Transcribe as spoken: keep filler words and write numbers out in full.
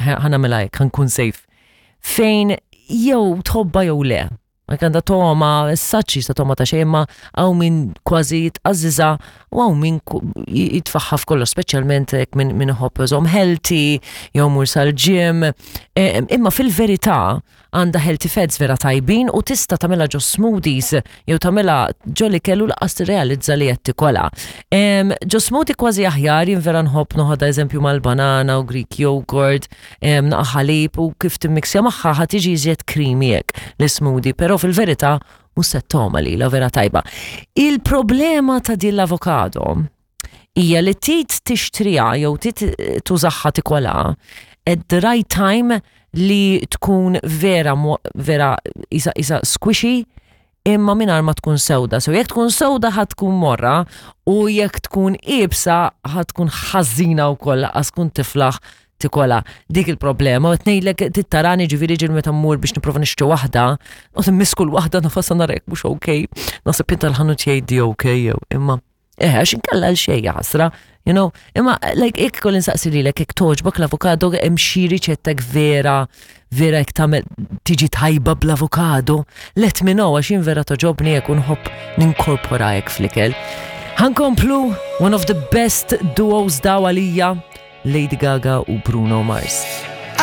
Ħa nagħmilha hekk, ħa nkun safe. Fejn jew tħobbha jew le. Ma għandha togħma, saċi sa togħma ta' xejn, ma hawn min kważi jitqażżiżha u hawn min jitfagħha f'kollox, speċjalment hekk minn min iħobb iżomm healthy, jew mur sal-gym. E, imma fil-verità għandha healthy fats vera tajbin u tista' tagħmilha ġo smoothies jew tagħmilha ġo li kellu lanqas tirrealizza li qed tikolha. Ġo smoothie kważi aħjar, jien vera nħobb noħodha eżempju mal-banana u Greek yogurt, naqa ħalib u kif timmixja magħha ħa tiġi iżjed creamy hekk l-smoothie, però fil-verità mhux se togħma li la vera tajba. Il-problema ta' din l-avokado hija li tit tixtriha jew tit tużaha tikolha at the right time li tkun vera vera isa, isa squishy imma mingħajr ma tkun sewda. So jekk tkun sewda ħa tkun morra u jekk tkun iebsa ħa tkun ħażina wkoll għax tkun tiflaħ tikolha. Dik il-problema, u tnejlek tittarani ġifieri ġil meta mmur biex nipprova nixtri waħda, u timmisku l-waħda nafasa narek mhux okej. Naħseb inta l-ħanut jgħidli okej jew imma eh, għax inkella l-xejn ħasra, you know, imma like jekk kolli nsaqsi lilek jekk togħġbok l-avokado, hemm xi riċettek vera vera jekk tagħmel tiġi tajba bl-avokado, let me know għax jien vera togħġobni jekk nħobb ninkorpora hekk fl-ikel. Ħa nkomplu one of the best duos daw għalija, Lady Gaga u Bruno Mars.